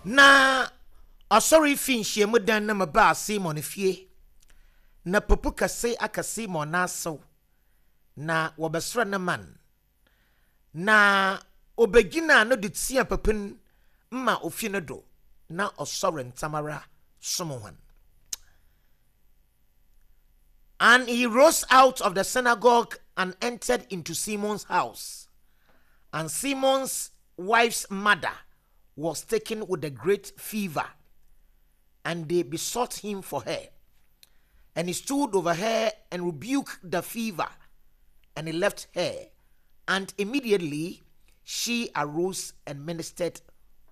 Na ɔsɔre fi nhyiamudan no mu baa Simon fie, na popo kɛse aka Simon n'asew, na wɔbɛsrɛ no man. Na obegyinaa no do tsiaa popo no ma ofi no do, na ɔsɔre ntsɛmara som hɔn. And he rose out of the synagogue and entered into Simon's house. And Simon's wife's mother was taken with a great fever, and they besought him for her. And he stood over her and rebuked the fever, and he left her. And immediately she arose and ministered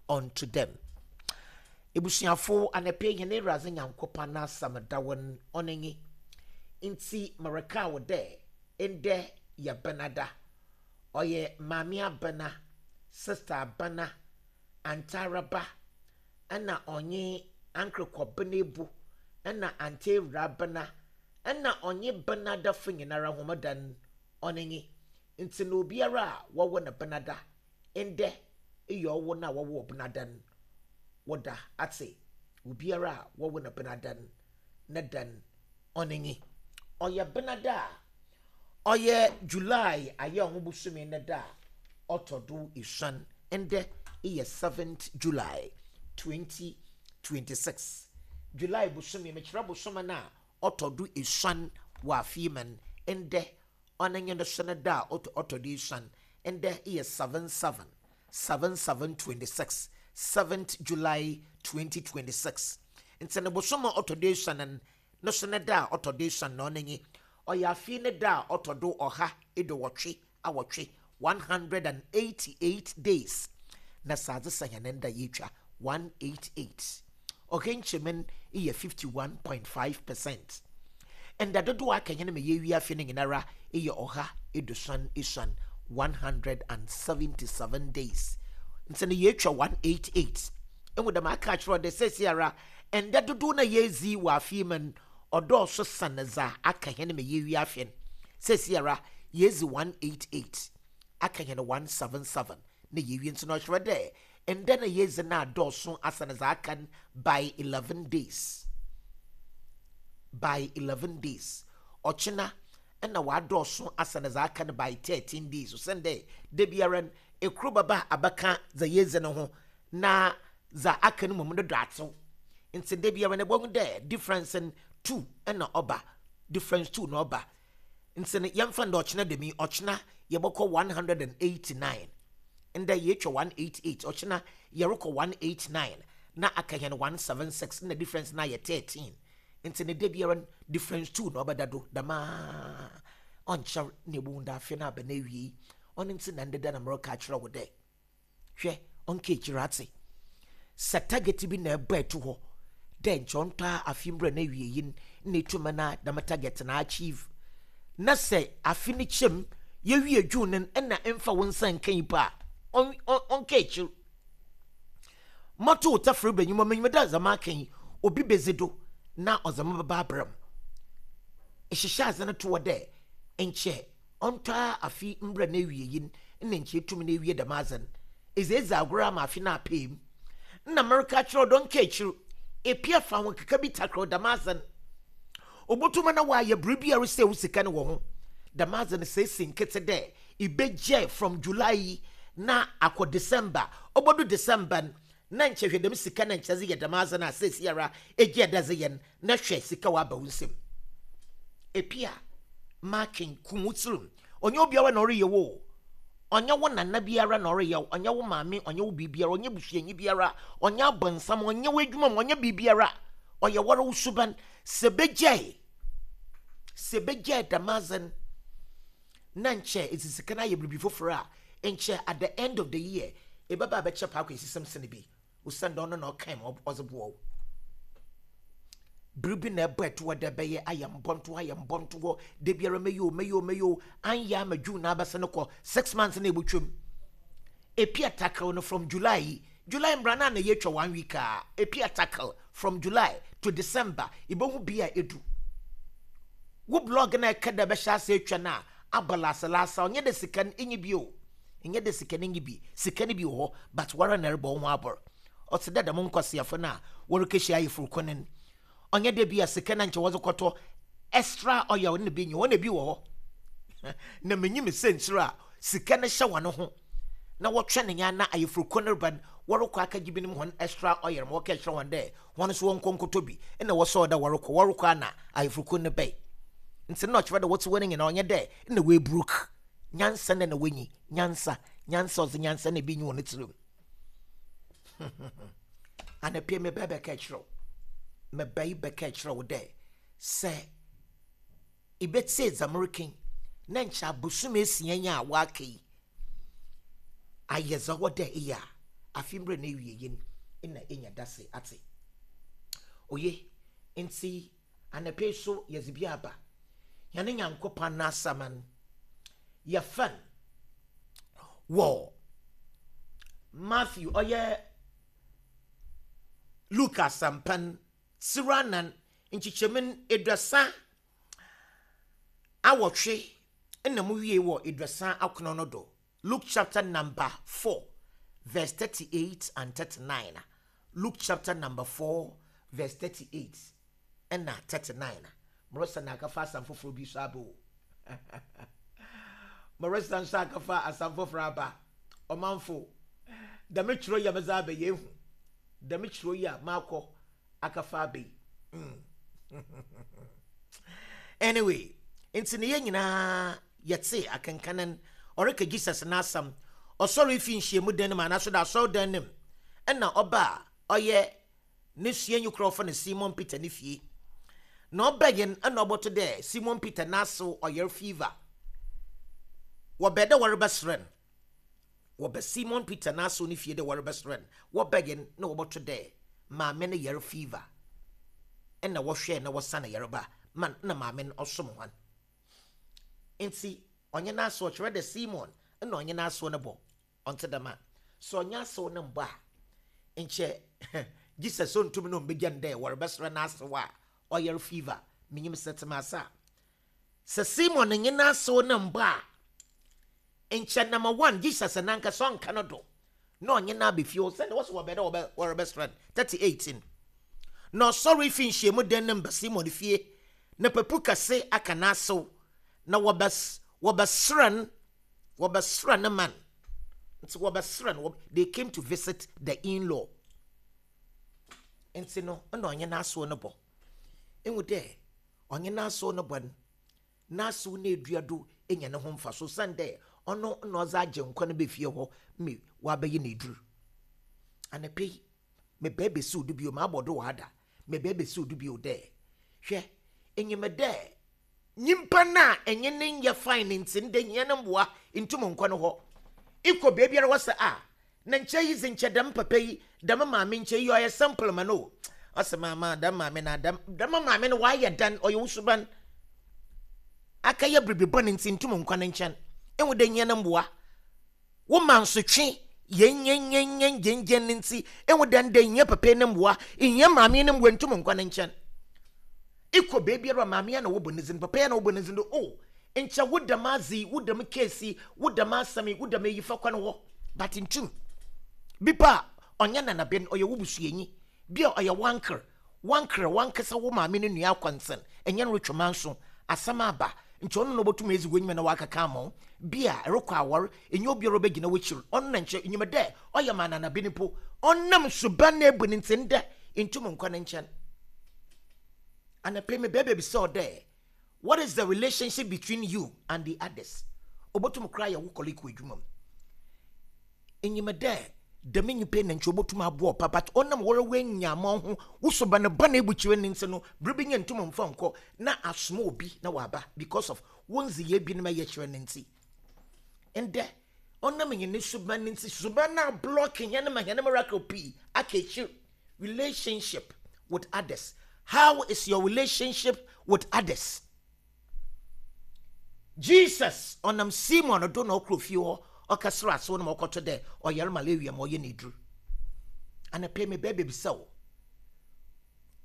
unto them. Ebusuafo, anapa yi hɛn Ewuradze Nyankopɔn n'asɛm da hɔ ɔno nye, Ntsi merekaa wo dɛ ndɛ yɛ Benada. Ɔyɛ Maame Abena, Sister Abena, Aunty Araba, nna ɔnye Uncle Kɔben Ebu, nna Aunty Ewura Abena, nna ɔnye Benadafo nyinara hom da no, ɔno nye. Ntsi na obiara a wɔwo no Benada, ndɛ eyɛ ɔwo no a wɔwoo Benada no wo da, atse? Obiara a wɔwo no Benada no ne da no, ɔno nye. Ɔyɛ Benada a ɔyɛ July Ayɛwoho bosome ne da a ɔtɔ do esuon, ndɛ eyɛ seventh July 2026. July bosome, mekyerɛ bosome no a ɔtɔ do esuon wɔ afe yi mu no, ndɛ ɔno nye no so ne da a ɔtɔ do esuon, ndɛ eyɛ 77, 77 26, 7th July 2026. Ntsi no bosoom a ɔtɔ do esuon no, no so ne da a ɔtɔ do esuon na ɔno nye, ɔyɛ afe ne da a ɔtɔ do ɔha eduowɔtwe awɔtwe, 188 days, na sɛ adze sa hɛn nda yeetwa 188. Ɔha nkyɛmu no yɛ 51.5 percent. Nda dodow a aka hɛn ma yeewie afe no nyinara yɛ ɔha eduosuon esuon, 177 days. Ntsi no yeetwa 188. Ehu dɛm aka akyerɛ wo dɛ seseiara nda dodow no a yeedzi wɔ afe yi mu no ɔdɔɔ so sen dza aka hɛn ma yeewie afe no. Seseiara yeedzi 188, aka hɛn 177 na yeewie ntsi no ɔkyerɛ dɛ ndɛ na yeedzi no adɔɔ so asen dza aka no by 11 days. By 11 days. Ɔkyena nna ɔadɔɔ so asen dza aka no by 13 days osiandɛ da biara no kor bɛba abɛka dza yeedzi no ho na dza aka no mbom no do atsew. Ntsi da biara no ebohu dɛ difference no two na ɔba, difference two na ɔba. Ntsi no yɛmfa no dɛ ɔkyena dɛm yi, ɔkyena yɛbɔkɔ 189. Ndɛ yeetwa 188, ɔkyena yɛrokɔ 189 na aka hɛn 176 nna difference no ayɛ 13. Ntsi no da biara no difference two na ɔbɛda do dɛm ara. Ɔnnkyɛr na ebohu dɛ afe no aba n'ewiei. Ɔno ntsi na ndɛ da na mereka akyerɛ wo dɛ. Hwɛ, ɔnnkã ekyir atse. Sɛ target bi na ebɔ to hɔ dɛ nkyɛ ɔntɔ a afe mbra n'ewiei no nna etum na dɛm target no achieve, na sɛ afe no kyɛ mu, yewie June no nna mmfa wo nsa nnkã yi mpo a, ɔnnkã ekyir. Mɔto wo tafɛr banyin mu, minyim dɛ dza makã yi obi bedzi do na ɔdze me bɛba abra mu. Ehyehyɛ adze no to hɔ dɛ nkyɛ Ɔnntɔ ara afe mbra n'ewiei no nna nkyɛ etum na ewie dɛm adze no. Edze edzi agor ama afe no apaa mu. Nna mereka akyerɛ wo dɛ ɔnnkã ekyir, epia fa ahokeka bi takerɛw dɛm adze no. Obotum ana ɔayɛ biribi a eresɛɛ wo sika no wɔ ho. Dɛm adze no sɛ esi nketse dɛ ibegyae from July yi na akɔ December, obodu December no na nkyɛ hwɛ dɛm sika no a nkyɛ edze yɛ dɛm adze no a seseiara egyaa dɛ edze yɛ no na hwɛ sika ɔaba wo nsamu. Epia, marking, kum wo tsirmu. Ɔnnyɛ obiara na ɔreyɛ wo o. Ɔnnyɛ wo nana biara na ɔreyɛ wo, ɔnnyɛ wo maame, ɔnnyɛ wo biribiara, ɔnnyɛ busuanyi biara, ɔnnyɛ abɔnsam, ɔnnyɛ w'edwuma mu, ɔnnyɛ biribiara. Ɔyɛ woara wo suban. Sɛ ebegyae, sɛ ebegyae dɛm adze no na nkyɛ edze sika no ayɛ biribi fofor a, nkyɛ at the end of the year ebɛba abɛkyɛ paakwaesisɛm sen bi. Osiandɛ ɔno na ɔkae ma ɔdze boa wo. Biribi na ɛbɔ ɛto hɔ dɛ ɛbɛyɛ ayɛ mbɔnto ayɛ mbɔnto hɔ da biara mɛyɛ o mɛyɛ o mɛyɛ o anyɛ ama June na abɛsɛ no kɔ 6 months na ebotwam. Epia tackle no from July yi, July mbra na na yɛtwa one week a epia tackle from July to December ibohu bi a edu. Wo blog na ɛka dɛ bɛhyɛ ase atwa no a abɔ laasalaasa ɔnyɛ dɛ sika no enyi bi o. Ɛnyɛ dɛ sika no nyi bi, sika no bi wɔ hɔ but woara na ɛrebɔ wo ho abor. Ɔtse dɛ dɛm nkwaseafo no a wɔrekehyia ayeforkun no. Ɔnnyɛ dɛ bi a sika no a nkyɛ wɔdze kɔtɔ extra oil no na bi nnyi hɔ, nna bi wɔ hɔ. Na minyim siantsir a sika no hyɛ hɔn ho na wɔtweɔn nyɛ ana ayeforkun no reba no, wɔrokɔ akɛgye binom hɔn extra oil ma wɔkɛkyerɛ hɔn dɛ hɔn so wɔnkɔ nkɔtɔ bi. Nna wɔsɔɔ dɛ wɔrokɔ, wɔrokɔ a na ayeforkun no bae. Ntsi nna ɔkyerɛ dɛ wɔtse hɔ no nyina ɔnnyɛ dɛ nna woeburuk. Nyansa na nna wonnyi, nyansa, nyansa, ɔdze nyansa na bi nnyi hɔn tsirmu. Anapa yi mebɛɛ bɛka kyerɛ wo, mebɛe bɛka kyerɛ wo dɛ sɛ ibetsie dza mereka yi na nkyɛ abosoom esia yi a wɔaka yi ayɛ dza ɔwɔ dɛ eyɛ a, afe mbrɛ n'ewiei no nna enya dase atse. Oye, ntsi anapa yi so yɛdze bi aba. Hɛn Nyankopɔn n'asaman yɛfa no wɔ Matthew, ɔyɛ Luke asɛmpa no tsir anan nkyekyɛmu 38 na mu wie wɔ 39 no do. Luke chapter number 4 verse 38 and 39. Luke chapter number 4 verse 38 na 39. Marisa na akafa asɛm foforɔ bi so aba o. Marisa nso akafa asɛm foforɔ aba. Ɔmanfo, dɛm twerɛ yi a medze aba yi ehu. Dɛm twerɛ yi a makɔ akafa aba yi. Anyway, nti ne yɛn nyinaa yɛtse akenkanan ɔreka Jesus n'asɛm. Ɔsɔre fi nhyiamu dan no mu anaaso dɛ asɔrdan no mu ɛna ɔba a ɔyɛ ne suanyi kor a wɔfrɛ no Simon Peter ne fie. Na ɔbɛn no na ɔbɔto dɛ Simon Peter n'asew ɔyar fever. Wɔbɛɛ dɛ wɔrebɛserɛ no. Wɔba Simon Peter n'asew ne fie dɛ wɔrebɛserɛ no, wɔbɛn no na wɔbɔto dɛ maame no yar fever. Nna wɔhwɛɛ na wɔsa no yarba ma nna maame no ɔsom hɔn. Ntsi ɔnye n'asew, ɔkyerɛ dɛ Simon nna ɔnye n'asew no bɔ. Ɔnntse dɛm a, sɛ ɔnnyɛ asew no mmbɔ a, nkyɛ Jesus onntum na ommbegya no dɛ wɔrebɛserɛ n'asew a ɔyar fever. Minyim sɛ etse me ase a. Sɛ Simon nye n'asew no mmbɔ a, nkyɛ number one, Jesus nankasa ɔnnka no do na ɔnye no aba fie osiandɛ wɔse wɔbɛn dɛ wɔrebɛserɛ no. 38 no, na ɔsɔree fii nhyiamu dan no mu ba Simon fie, na papu kɛse aka n'asew, na wɔbɛserɛ no. Wɔbɛsrɛ no man. Nti wɔbɛsrɛ no. They came to visit the in-law. Nti no, nna ɔnye n'asew no bɔ. Ehu dɛ ɔnye n'asew no bɔ no, n'asew no edua do enya no ho mfaso osiandɛ ɔno na ɔdze Agyenkwa no ba fie hɔ ma ɔabɛyɛ n'edur. Anapa yi, mebaa besiw do bio, mabɔ do wɔ ha da, mebaa besiw do bio dɛ, hwɛ, inyim dɛ Nyimpa no a enye no nnyɛ fine ntsi ndɛ hia no mboa nntum nnkɔ no hɔ. Ekɔ beebiara wɔse ah na nkyɛ iyi dze nkyɛ dɛm papa yi dɛm maame nkyɛ iyi ɔyɛ simple ma no o. Ɔse maama dɛm maame no a dɛm dɛm maame no ɔayɛ dɛn ɔyɛ wo suban akɛyɛ biribi bɔn ntsi nntum nnkɔ ne nkyɛn. Ehu dɛ hia no mboa. Wo mansotwe yɛnyɛnyɛnyɛn gyengyen no ntsi, ehu dɛ ndɛ ihia papa yi no mboa, ihia maame yi no mboa nntum nnkɔ ne nkyɛn. Ekɔ beebiara a maame yi na wɔbɔ ne dzin, papa yi na wɔbɔ ne dzin do, oh, nkyɛ wo dɛm adze yi, wo dɛm case yi, wo dɛm asɛm yi, wo dɛm eyi fa kɔ no hɔ, but nntum. Bi po a, ɔnnyɛ nanaben, ɔyɛ wo busuanyi, bi a ɔyɛ w'anker, W'ankrɛ w'ankasa wo maame no nua akwansen enye no rotwe manso, asɛm aba, nkyɛ ɔno na obotum edzi w'enyim na ɔakɛkã ama wo. Bi a erokɔ awar, enye obiara a obegyina w'ekyir, ɔno na nkyɛ inyim dɛ ɔyɛ ma ananaben mpo, ɔnam suban na ebu no ntsi ndɛ inntum nnkɔ ne nkyɛn. Anapa yi mebɛɛ bebisa wo dɛ, what is the relationship between you and the others? Obotum koraa ayɛ wo colleague wɔ edwuma mu. Inyim dɛ dɛm nyimpa yi na nkyɛ obotum aboa wo paa but ɔnam woara w'enyiamɔ ho, wo suban bɔn a ebu kyerɛ no ntsi no, ber bi nye nntum mmfa nnkɔ na asoma obi na ɔaba because of wo ndzeyɛɛ binom a eyɛ kyerɛ no ntsi. Ndɛ, ɔnam hɛn suban no ntsi, suban no ablɔck hɛn ma hɛn miracle pii aka ekyir. Relationship with others. How is your relationship with others? Jesus ɔnam Simon do na ɔkɔr fie hɔ ɔkɛserɛ asew no ma ɔkɔto dɛ ɔyar malaria ma ɔyɛ no edur. Anapa yi mebɛɛ bebisa wo,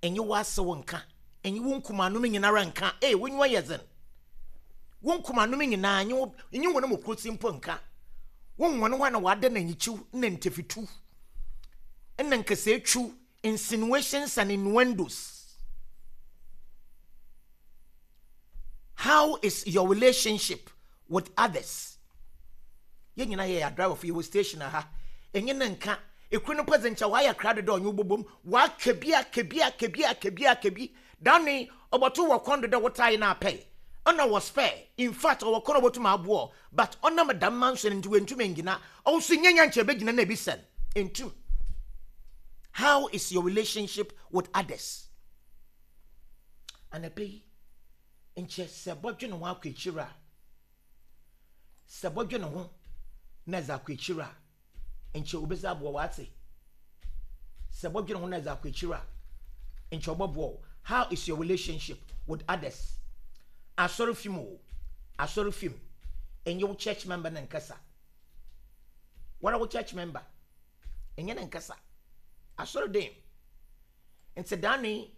enye w'asew nka, enye wo nkumanom nyinara nka, ee w'enyiwa yɛ dzen, wo nkumanom nyina enye wo enye hɔn mu kortsi mpo nka, wo hɔn hɔ a na wɔada no enyikyiw na ntafituw. na nkasaatwiw, insinuations and innuendos. How is your relationship with others? Yɛn nyinaa yɛyɛ adriverfo, yɛwɔ station ha. Enye no nka. Ekuru no mpo dze nkyɛ ɔayɛ krado dɛ ɔnye wo bɔbɔ mu. Ɔaka bi, aka bi, aka bi, aka bi, aka bi. Da no yi, ɔbɔto wɔ kɔn do dɛ wo tae no apɛe. Nna ɔwɔ spare. In fact, ɔwɔ kɔn a obotum aboa wo, but ɔnam dɛm manso no ntsi oenntum enngyina. Ɔwo so nnyɛ nya nkyɛ ebegyina na ebisa no. Enntum. How is your relationship with others? Anapa yi, nkyɛ sɛ ebɔdwen ho akɔ ekyir a, sɛ ebɔdwen ho na edze akɔ ekyir a, nkyɛ obedzi aboa wo atse. Sɛ ebɔdwen ho na edze akɔ ekyir a, nkyɛ ɔbɔboa wo. How is your relationship with others? Asɔrfi mu o, asɔrfi mu, enye wo church member no nnkasa. Woara wo church member, enye no nnkasa. Asɔr dan mu. Ntsi daano yi,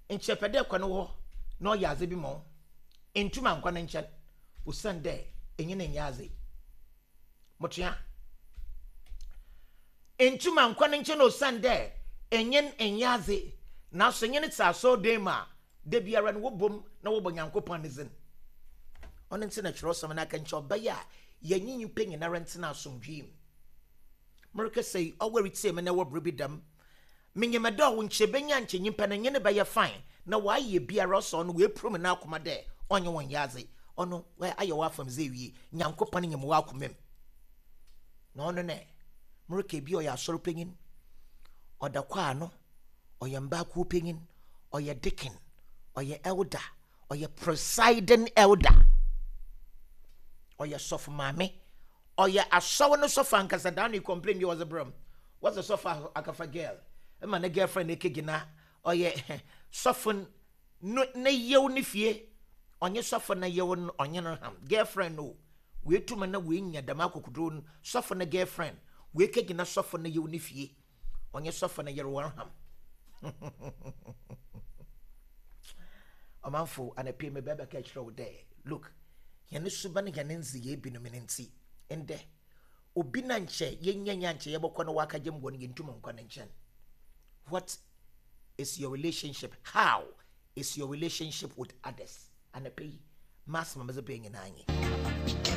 nkyɛ epɛ dɛ ekɔ no hɔ na ɔyɛ adze bi ma wo, enntum annkɔ ne nkyɛn osiandɛ enye no nnyɛ adze. Motoa. Enntum annkɔ ne nkyɛn osiandɛ enye no nnyɛ adze, naaso enye no tse asɔrdan mu a, da biara no wɔbɔ mu na wɔbɔ Nyankopɔn ne dzin. Ɔno ntsi na kyerɛwsɛm no aka nkyɛ ɔbɛyɛ a yɛnye nyimpa nyinara ntsena asomdwee mu. Merekasa yi, ɔwo eretsie me na ewɔ ber bi dɛm. Minyim dɛ ɔwo nkyɛ ebenya nkyɛ nyimpa no nye no bɛyɛ fine na ɔayɛ biara ɔsɛ ɔno oepirim n'akoma dɛ ɔnye wo nnyɛ adze. Ɔno ayɛ w'afamdze ewie. Nyankopɔn nyim w'akoma mu. Na ɔno nɛ, mereka bi ɔyɛ asɔr panyin, ɔda kwaa ano, ɔyɛ mbaa kuw panyin, ɔyɛ deacon, ɔyɛ elder, ɔyɛ presiding elder, ɔyɛ sɔfo maame, Ɔyɛ asɔr no sɔfo ankasa daa no complain bi a ɔdze brɛ m' wɔdze sɔfo akafa girl ma ne girlfriend ekegyina ɔyɛ sɔfo no ne yew ne fie ɔnye sɔfo ne yew no ɔnye no ham girlfriend no oetum na oenya dɛm akokodur no sɔfo ne girlfriend oekegyina sɔfo ne yew ne fie ɔnye sɔfo ne yer wɔreham ɔmanfo anapa yi mebɛbɛka kyerɛ wo dɛ look Hɛn suban, hɛn ndzeyɛɛ binom no ntsi, ndɛ obi na nkyɛ yenya nye a nkyɛ yɛbɔkɔ na ɔakɛgye mboa no, yenntum nnkɔ ne nkyɛn. What is your relationship? How is your relationship with others? Anapa yi, m'asɛm a medze bae nyina nye.